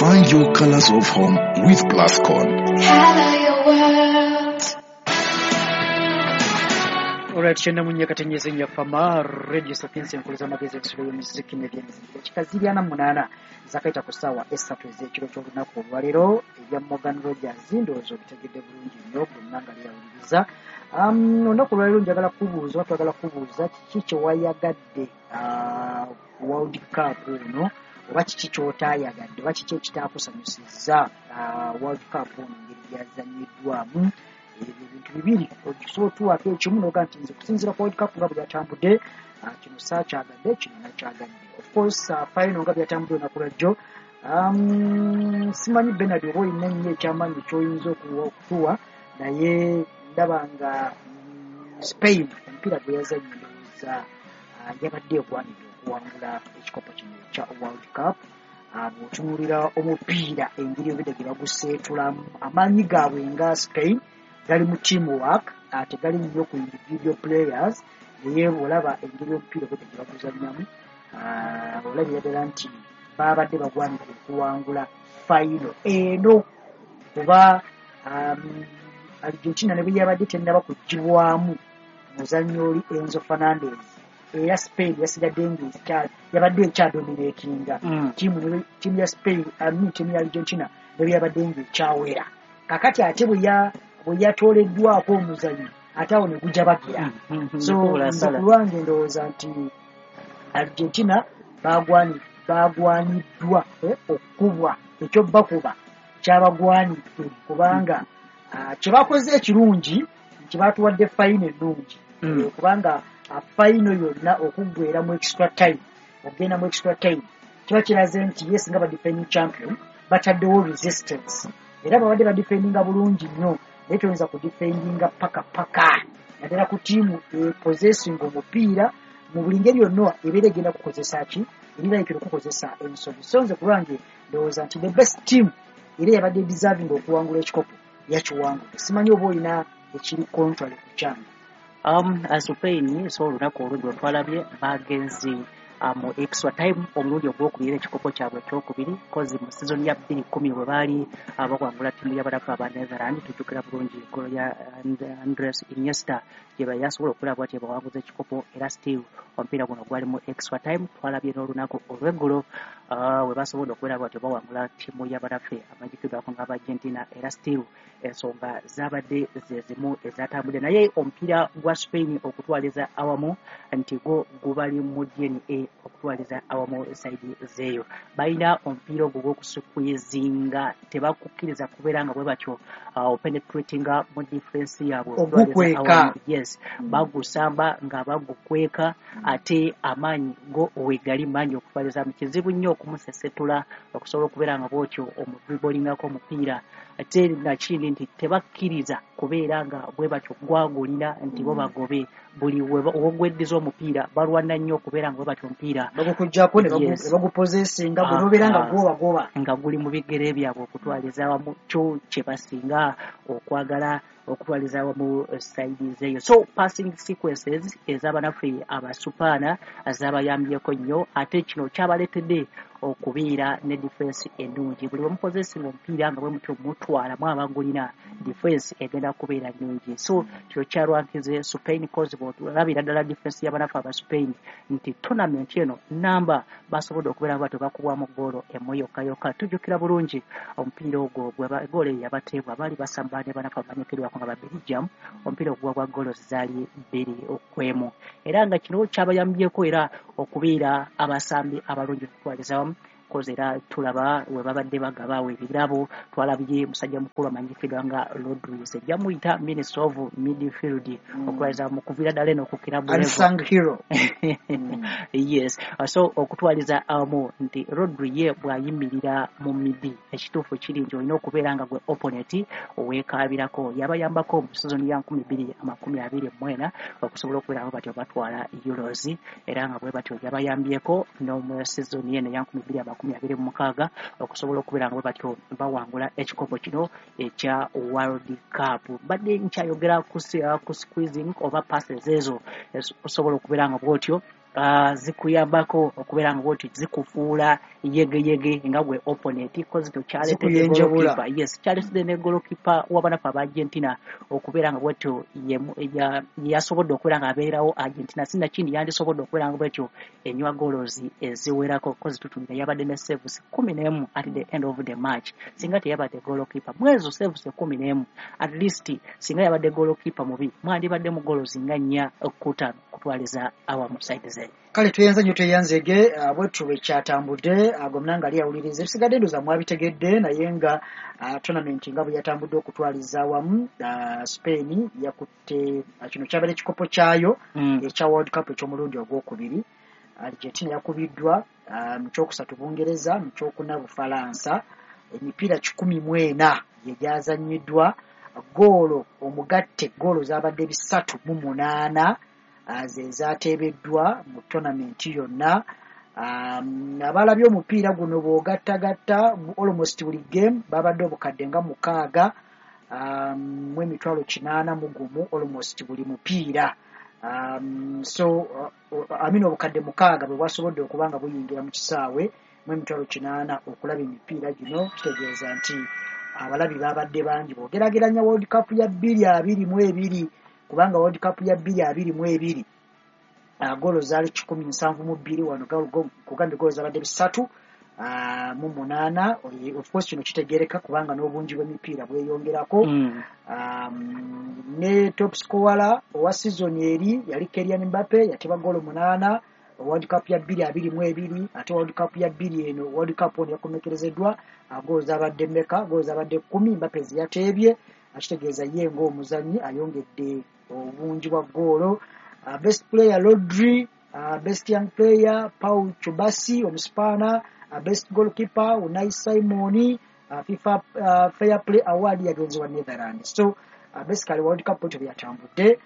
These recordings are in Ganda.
Find your colors of home with Plascon. Color your world. Alright, 94 katenyeze Fama Radio Sapiens, enkuliza amagezi, ensulo y'omuziki n'ebyemiziki. Dakika ziri 48 zakaita ku ssaawa 3 ez'ekiro ky'olunaku olwaleero. Ebya Morgan Rogers ndowooza obitegedde bulungi nnyo bonna nga lyawuliriza. Olunaku olwaleero njagala kubuuza oba twagala kubuuza, kiki kye wayagadde World Cup ono, oba kiki ky'otaayagadde, oba kiki ekitaakusanyusizza World Cup ono engeri gyazannyiddwamu? Ebyo ebintu bibiri osobola otuwaako ekimu noga nti nze kusinziira ku World Cup nga bwe byatambudde, kino saakyagadde, kino nakyagadde. Of course, final nga byatambudde olunaku lwajjo, simanyi Benard oba olina nnyo ekyamaanyi kyoyinza okutuwa, naye ndaba nga Spain omupiira gwe yazannye, ndowooza yabadde egwanidde okuwangula ekikopo kino ekya World Cup. Bw'otunuulira omupiira engeri obedde gye baguseetulamu, amaanyi gaabwe nga Spain gali mu teamwork, tegali nnyo ku individual players, naye olaba engeri omupiira obedde gye baguzannyamu, olabira ddala nti babadde bagwanidde okuwangula final eno, kuba Argentina ne bwe yabadde tennaba kugibwamu muzannyo oli Enzo Fernandez, era Spain yasigadde nga yabadde ekyadominatinga. Ttiimu ya Spain, I mean, ttiimu ya Argentina ne bwe yabadde nga ekyawera, kakati ate bwe yatooleddwako omuzannyo, ate awo ne gujabagira. So nze ku lwange ndowooza nti Argentina bagwaniddwa okukubwa, ekyobakuba kyabagwanidde, kubanga kyebakoze ekirungi nti batuwadde final ennungi, kubanga final yonna okuggwera mu extra time, okugenda mu extra time, kiba kiraze nti yes, nga ba defending champion bataddewo resistance, era babadde badefendinga bulungi nnyo, naye toyinza kudefendinga paka paka, naddala ku ttiimu epossessinga omupiira mu buli ngeri yonna ebeera egenda kukozesa ki, erirayikira okukozesa ensobi. So nze ku lwange ndowooza nti the best team era yabadde deserving okuwangula ekikopo yakiwangudde. Simanyi oba olina ekiri contrary ku kyange. Spain, so olunaku olweggulo twalabye bagenze mu extra time omulundi ogwokubiri, ekikopo kyabwe ekyokubiri, kozi mu season ya 2010 bwe baali bawangula ttiimu y'abalafu aba Netherland, tujjukira bulungi golo ya Andres Iniesta gye yasobola okulaba bwati bawanguza ekikopo, era still omupiira guno gwali mu extra time. Twalabye n'olunaku olweggulo we basobodde okubeera bwatyo bawangula ttiimu y'abalaffe amanyikiddwako nga aba Argentina, era still ensonga zabadde ze zimu ezatambudde. Naye omupiira gwa Spain okutwaliza awamu nti gwo gubali mu DNA, okutwaliza awamu side zeeyo balina omupiira ogwo gw'okusqueezinga, tebakukkiriza kubeera nga bwe batyo penetratinga mu defense yaabwe. Ogukweka. Yes, bagusamba nga bagukweka, ate amaanyi go wegali mangi okutwaliza mu kizibu nnyo okumusesetula okusobola okubeera nga bwotyo omudribolingako omupiira. Ate nakindi nti tebakkiriza kubeera nga bwe batyo gwagulina nti bo bagobe buli wogweddiza omupiira, balwana nnyo okubeera nga bwe batyo omupiira bagukuggyako ne bagupossessinga, gwe nobeera nga gwobagoba nga guli mu bigere byabwe. Okutwaliza awamu kyo kye basinga okwagala okutwaliza awamu side zeeyo. So passing sequences ez'abanaffe abasupaana zabayambyeko nnyo, ate kino kyabaleetedde okubeera ne defense ennungi. Buli bwemupossessinga omupiira nga bwe mutyo mutwalamu abagulina, defense egenda kubeera nnungi. So kino kyalwankize Spain, cause bwolabira ddala defense y'abanafu aba Spain nti tournament eno namba basobodde okubeera nga tebakubwamu goolo emu yokka yokka. Tujjukira bulungi omupiira ogwo goolo eyo yabateebwa baali basamba ne banafu abamanyikiddwako nga ba Belgium, omupiira ogwa gwa goolo zaali 2-1, era nga kino kyabayambyeko era okubeera abasambi abalungi okutwaliza wamu, kozi era tulaba we babadde bagabaawo ebirabo, twalabye musajja mukulu amanyikiddwa nga Rodri, ejja muyita minister of midfield, okutwaliza mu kuviira ddala eno ku club level. Unsung hero. Yes, so okutwaliza awamu nti Rodri ye bw'ayimirira mu midi, ekituufu kiri nti olina okubeera nga gwe opponent weekaabirako. Yabayambako mu season ya 2024 okusobola okubeera nga batyo batwala Euros, era nga bwe batyo yabayambyeko n'omu season eno eya 2026 okusobola okubeera nga bwe batyo bawangula ekikopo kino ekya World Cup. Mbadde nkyayogera ku squeezing oba passes ezo osobola okubeera nga bwotyo Zikuyambako okubeera nga bwoti zikufuula yegeyege nga gwe opponent, 'cause tokyaleetedde Zikuyenjebula. goalkeeper. Yes, kyaleetedde ne goalkeeper w'abanafu aba Argentina okubeera nga bwetyo yasobodde okubeera nga abeerawo Argentina, sinakindi yandisobodde okubeera nga bwetyo enywa goals eziwerako, 'cause tutunira yabadde ne saves 11 at the end of the match. Singa teyabadde goalkeeper mwezo saves 11, at least singa yabadde goalkeeper mubi, mwandibadde mu goals nga 4 ku 5 kutwaliza awamu side ze. Kale, tweyanza nnyo, tweyanzege. Bwetyo bwe kyatambudde. Gwe munanga ali awuliriza, ebisigadde ndowooza mwabitegedde, naye nga tournament nga bwe yatambudde okutwaliza awamu, Spain yakutte, kino kyabadde ekikopo kyayo ekya World Cup eky'omulundi ogwokubiri. Argentina yakubiddwa, mu kyokusatu Bungereza, mu kyokuna Bufalansa. Emipiira 104 gye gyazannyiddwa, goolo omugatte goolo zabadde 308, ze zateebeddwa mu tournament yonna. Abalabye omupiira guno bw'ogattagatta almost buli game babadde obukadde nga 6 mu 801,000 almost buli mupiira. So I mean, obukadde 6 bwe bwasobodde okuba nga buyingira mu kisaawe mu 80,000 okulaba emipiira gino. Kitegeeza nti abalabi babadde bangi bw'ogeraageranya World Cup ya 2022, kubanga World Cup ya 2022 goolo zaali 172, wano kugambye goolo zabadde 308. Of course kino kitegereka kubanga n'obungi bw'emipiira bweyongerako. Ne top scorer owa season eri yali Kylian Mbappe, yateba goolo 8 World Cup ya 2022. Ate World Cup ya bbiri eno, World Cup ono yakomekerezeddwa, goolo zabadde mmeka? Goolo zabadde 10 Mbappe zeyateebye, akitegeeza ye ng'omuzannyi ayongedde obungi bwa goolo. Best player Rodri, best young player Pau Cubarsi omuspaana, best goalkeeper Unai Simon, FIFA Fair Play Award yagenze wa Netherlands. So basically World Cup bwetyo byatambudde.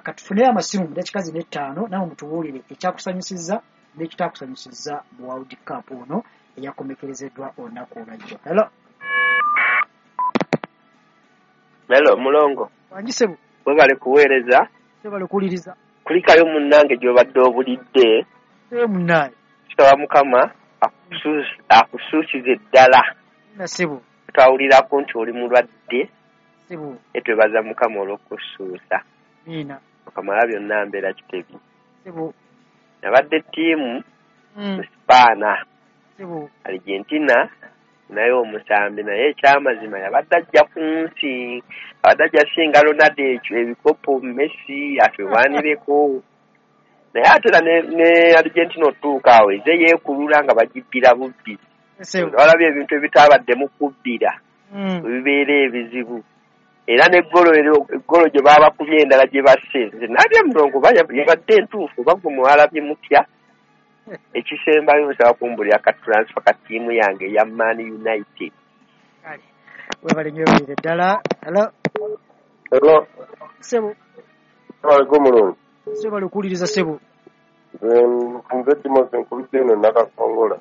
Katufuneyo amasimu mu dakiika zino 5, nawe mutubuulire ekyakusanyusizza n'ekitakusanyusizza mu World Cup ono eyakomekerezeddwa olunaku olwajjo. Hello. Hello, mulongo. Wangi ssebo. Webale kuweereza. Webale okuwuliriza. Kulikayo munnange gy'obadde obulidde. Ee munnaye. Kitaba Mukama akusuusize ddala. Nasebo. Twawulirako nti oli mulwadde. Sebo. Etwebaza Mukama olw'okusuusa. Miina. Okamala byonna mbeera Kitebi. Sebo. Nabadde ttiimu Sipaana. Sebo. Argentina naye omusambi, naye ekyamazima yabadde ajja ku nsi, abadde ajja singa Ronaldo ekyo ebikopo, Messi atwewanireko, naye ate era ne Argentina otuuka awo eze yeekulula nga bagibbira bubbi. Sebo. Walabye ebintu ebitabaddemu kubbira ebibeera ebizibu, era n'eggolo eggolo gye baabakubye endala gye basse, nze nabye mulongo oba yabadde entuufu oba gwe mwalabye mutya? Ekisembayo, nsaba kumbulira ka transfer ka ttiimu yange eya Man United. Kale, webale nnyo, webalire ddala. Hello. Hello. Sebo. Aliko mulungi. Sebo, bali okuwuliriza sebo. Nze Timothy, nkubidde eno Nakakongola.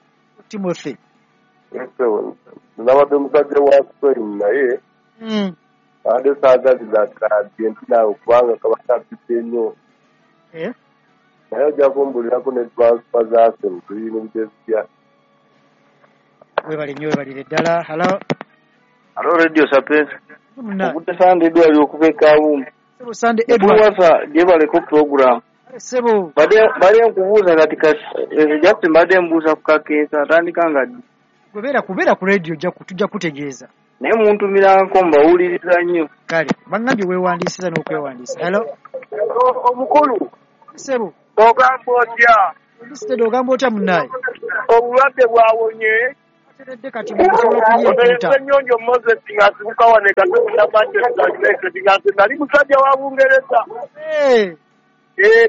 Timothy. Sebo, nabadde musajja wa Spain, naye abadde saagaliza Argentina kubanga kaba kapite nnyo. Eh? Naye ojja kumbulirako ne transfer za Arsenal tuyingidde zitya? Webale nnyo, webalire ddala. Hello. Hello, Radio Sapientia. Munnaye. Okudde Sande Edward okuva e Kawumu. Sebo Sande Edward. Wasa gyebaleko program. Sebo. Badde nkubuuza kati just mbadde mbuuza ku kakeesa atandika nga ddi? Gwe beera ku radio, tujja kutegeeza. Naye muntumiranko, mbawuliriza nnyo. Kale, baŋŋambye weewandiisiza n'okwewandiisa. Hello. Omukulu. Sebo. Ogamba otya? Ndisitedde, ogamba otya munnaye? Obulwadde bwawonye? Ateredde kati, musobola okulya empuuta. Ssenyonjo Moses ng'asibuka wano e Katonda, Manchester United, nga nze nali musajja wa Bungereza. Eh.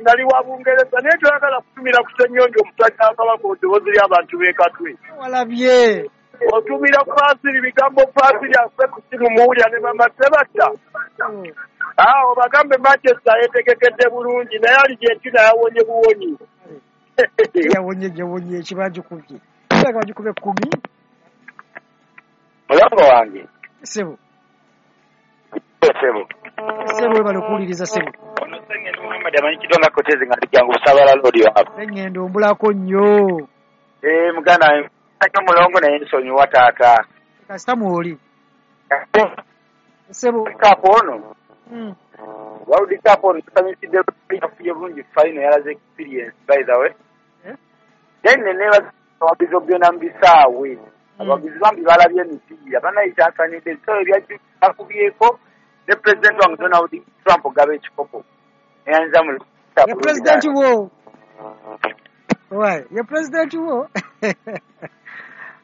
Nali wa Bungereza, naye toyagala kutumira ku Ssenyonjo omusajja wa Kabaka, eddoboozi ly'abantu b'e Katwe. Walabye. Otumira Fasiri bigambo, Fasiri afe ku simu muwulira ne mama Sebatta. Awo bagambe Manchester yetegekedde bulungi, naye Argentina yawonye buwonyi. Yawonye, yawonye ekibagikubye. Kirabika bagikubye 10. Mulongo wange. Sebo. Sebo. Sebo, webale okuwuliriza sebo. Ono Sengendo Muhammad amanyikiddwa nga Kotezi nga ndi jangu Busaabala Road waabwe. Sengendo ombulako nnyo. Muganda wange nnyo Mulongo naye nsonyiwa taata. Kasita mwoli. Ssebo. Cup ono. World Cup ono tusanyukidde yafunye bulungi final, yalaze experience by the way. Then neneebaza abawagizi okugenda mu bisaawe. Abawagizi bambi balabye emipiira, bannayita nsanyudde. So ebyajju akubyeko ne president wange Donald Trump ogaba ekikopo. Neyanza mu Ye president wo. Why? Ye president wo.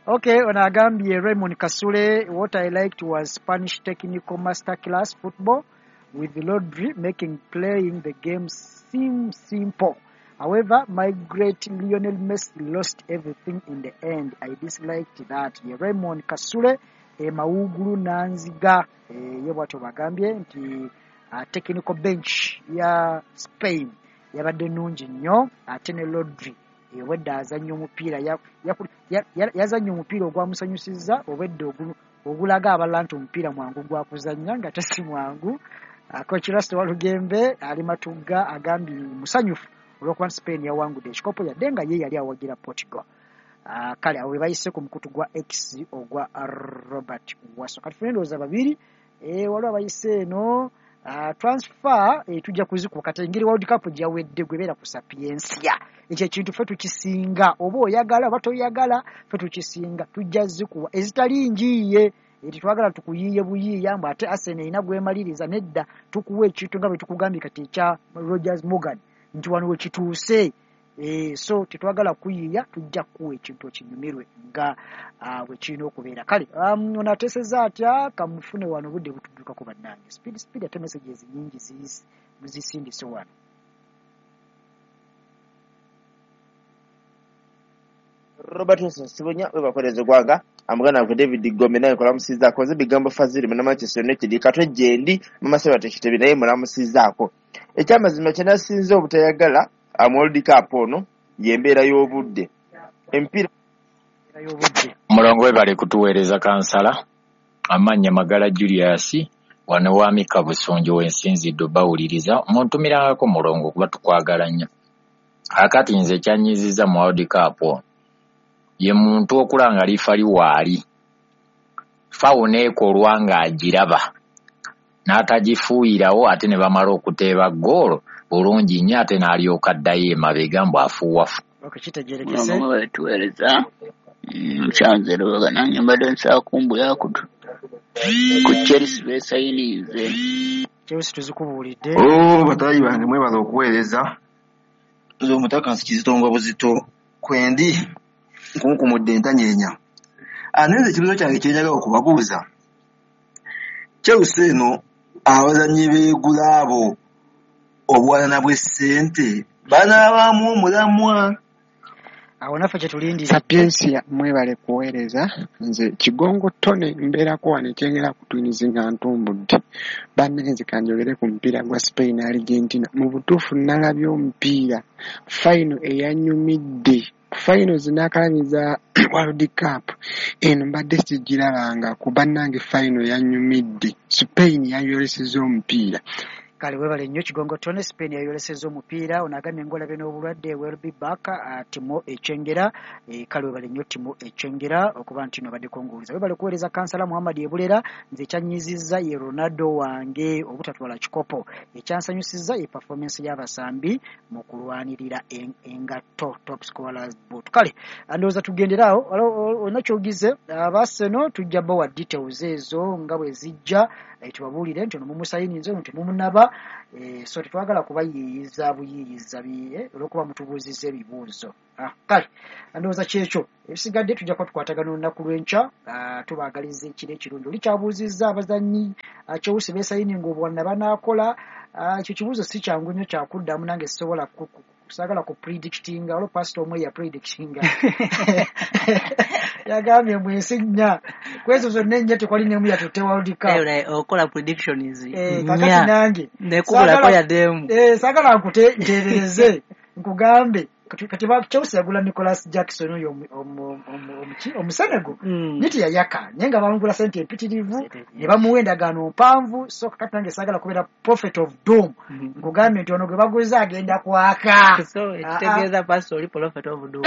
Okay, ono agambye Raymond Kasule, what I liked was Spanish technical masterclass football with Rodri making playing the game seem simple. However, my great Lionel Messi lost everything in the end. I disliked that. Ye Raymond Kasule, Mawugulu Nanziga, ye bwatyo bagambye nti technical bench ya Spain yabadde nnungi nnyo, ate ne Rodri obwedda azannya omupiira yazannya omupiira ogwamusanyusizza, obwedda ogulaga abalala nti omupiira mwangu gwa kuzannya nga tesi mwangu. Coach Rasta Walugembe ali Matugga agambye musanyufu olw'okuba nti Spain yawangudde ekikopo yadde nga ye yali awagira Portugal. Kale awo we bayise ku mukutu gwa X ogwa Robert Wasso. Kati ffe ndowooza babiri, waliwo abayise eno transfer, tujja kuzikuba kati engeri World Cup gyawedde gwebeera ku Sapientia. Ekyo ekintu ffe tukisinga, oba oyagala oba toyagala ffe tukisinga, tujja zikuwa ezitali njiiye. Tetwagala tukuyiiye buyiiya mbu ate Arsenal erina gwemaliriza, nedda, tukuwa ekintu nga bwe tukugambye kati ekya Rogers Morgan nti wano we kituuse. So tetwagala kuyiiya, tujja kukuwa ekintu okinyumirwe nga bwe kirina okubeera. Kale ono ateesezza atya, kamufune wano obudde butuddukako bannange. Speed speed ate messages nnyingi muzisindise wano. Robert Wilson Sibunya webakoleza eggwanga, amuganda wange David Gombe naye nkolamusizaako, nze Bigambo Fazili munna Manchester United Katwe gyendi Mama Sebata Kitebi naye mulamusizaako. Ekyamazima kye nasinze obutayagala mu World Cup ono y'embeera y'obudde. Emipiira Mulongo webale kutuweereza kansala. Amannya Magala Julius wano wa Mika Busunju wensinzidde bawuliriza muntumirangako Mulongo kuba tukwagala nnyo. Akati nze kyanyiizizza mu World Cup ono ye muntu okula nga lifa liwaali fawo neekolwa ng'agiraba n'atagifuuyirawo ate ne bamala okuteeba ggoolo bulungi nnyo ate n'alyoka addayo emabega mbu afuuwafu. Okitegeerekese. Mulongo mwebale tuweereza. Nkyanze Lubaga nange mbadde nsaba kumbuya ku Chelsea beesayininze. Chelsea tuzikubuulidde. Batayi bange mwebale okuweereza. Nze omutaka nsikizitongwa buzito kwendi nkunkumudde entanyeenya. Naye nze ekibuuzo kyange kye njagala okubabuuza, Chelsea eno abazannyi beegula abo obuwanana bw'essente banaabaamu omulamwa? Awo naffe kye tulindirira. Sapientia mwebale kuweereza. Nze Kigongo Tone mbeerako wano ekyengera ku Twins nga ntumbudde. Bannange kanjogere ku mupiira gwa Spain Argentina. Mu butuufu nalabye omupiira final eyanyumidde. Final zinaakalabye za World Cup eno mbadde sigirabangako, bannange final yanyumidde. Spain yayolesezza omupiira. Kale webale nnyo Kigongo Tone, Spain yayolesezza omupiira. Ono agambye ng'olabye n'obulwadde, will be back, Timo Ekyengera. Kale webale nnyo Timo Ekyengera okuba nti nobaddeko ng'owuliza. Webale kuweereza kansala Muhammad Ebulera. Nze ekyanyiizizza ye Ronaldo wange obutatwala kikopo. Ekyansanyusizza ye performance y'abasambi mu kulwanirira engatto top scorers boot. Kale ndowooza tugendere awo, olina ky'ogize Arsenal tujja bawa details ezo nga bwe zijja, tubabuulire nti ono mumusayininze ono temumunaba. So tetwagala kubayiiyiza buyiiyiza olw'okuba mutubuuzizza ebibuuzo. Kale ndowooza kyekyo, ebisigadde tujja kuba tukwatagana olunaku lw'enkya. Tubaagaliza ekiro ekirungi. Oli kyabuuzizza abazannyi Chelsea beesayininga obuwanana banaakola, ekyo kibuuzo si kyangu nnyo kyakuddamu, nange sisobola saagala ku predictinga. Olwo pastor omwe ya predictinga yagambye mbu ensi nnya, ku ezo zonna ennya tekwali n'emu yatutte World Cup. Okola predictions kakati nange nekubulako yadde emu. Saagala nkuteebereze nkugambe Kati Chelsea yagula Nicholas Jackson oyo Omusenego, naye teyayaka, naye nga bamugula sente empitirivu ne bamuwa endagaano mpanvu. So kakati nange saagala kubeera prophet of doom nkugambye nti ono gwe baguze agenda kwaka. So ekitegeeza pastor oli prophet of doom.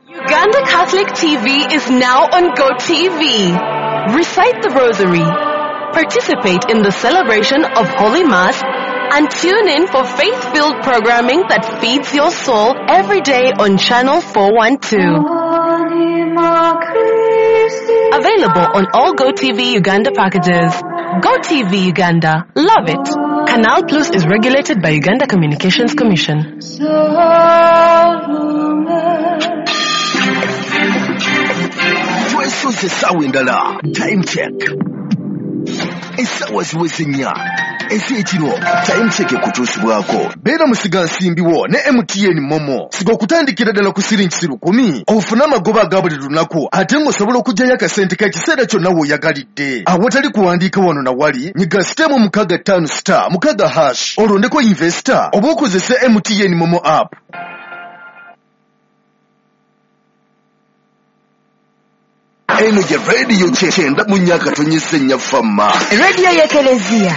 Uganda Catholic TV is now on GoTV. Recite the Rosary, participate in the celebration of Holy Mass, and tune in for faith-filled programming that feeds your soul every day on Channel 412. Available on all GoTV Uganda packages. GoTV Uganda. Love it. Canal Plus is regulated by Uganda Communications Commission. Twesoze essaawa endala. Time check, essaawa ziweze 4 ez'ekiro. Time check ekutuusibwako beera musigansimbi wo ne MTN Momo. Siga okutandikira ddala ku siringi 1,000 ofune amagoba aga buli lunaku, ate ng'osobola okuggyayo akasente k'ekiseera kyonna w'oyagalidde awatali kuwandiika wano na wali. Nyiga *656*6# olondeko investor oba okozese MTN Momo app. Eno ye radio 94.4 Fama, radio y'Ekelezia.